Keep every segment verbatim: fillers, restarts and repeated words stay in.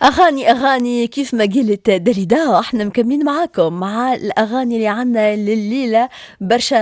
اغاني اغاني كيف ما قلت دريدا، احنا مكملين معاكم مع الاغاني اللي عنا لليله. برشا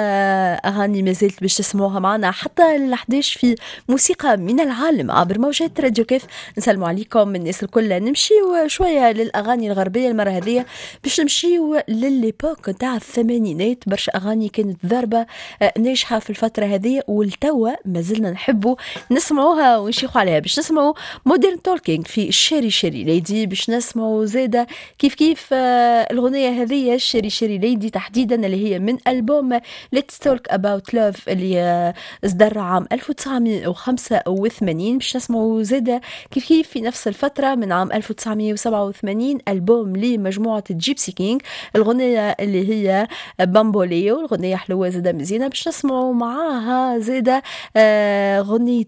اغاني ما زلت باش تسمعوها معنا حتى ال حداش في موسيقى من العالم عبر موجات راديو كيف. نسلموا عليكم الناس الكل. نمشيو شوية للاغاني الغربية المرة هذه، باش نمشيو ل l'époque نتاع الثمانينات. برشا اغاني كانت ضربه آه، ناجحة في الفترة هذه، والتوا ما زلنا نحبوا نسمعوها ونشيخوا عليها. باش نسمعوا Modern Talking في Cheri Cheri Lady، باش نسمعوا زاده كيف كيف آه، الغنية هذه Cheri Cheri Lady تحديدا، اللي هي من ألبوم Let's Talk About Love اللي آه، اصدر عام ألف وتسعمية وخمسة وثمانين. باش نسمعوا زاده كيف كيف في نفس الفترة من عام ألف وتسعمية وسبعة وثمانين ألبوم لمجموعة Gipsy Kings، الغنية اللي هي Bamboleo، الغنية حلوة زاده مزيانة. باش نسمعوا معاها زاده آه، غنية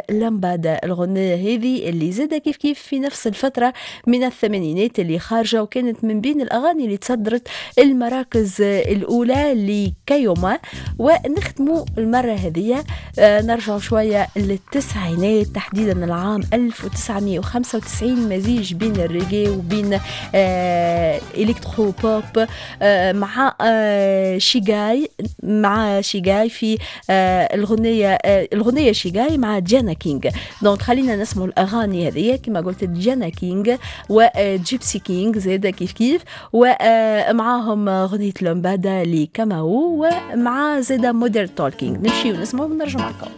لامبادا، الغنية هذه اللي زاده كيف كيف في نفس الفترة من الثمانينات اللي خارجة، وكانت من بين الأغاني اللي تصدرت المراكز الأولى لكايوما. ونختموا المرة هذه آه، نرجع شوية للتسعينات، تحديدا العام ألف وتسعمية وخمسة وتسعين، مزيج بين الريجي وبين آه électro pop آه مع آه شيغاي، مع شيغاي في آه الغنية آه الغنية شيغاي مع Diana King. donc خلينا نسمعوا الأغاني هذه كما قلت، Diana King و Gipsy Kings زاد كيف كيف، ومعاهم غنية لومبادا لكاماو ومع زاد Modern Talking. نمشي ونسمعوا ونرجع معكم.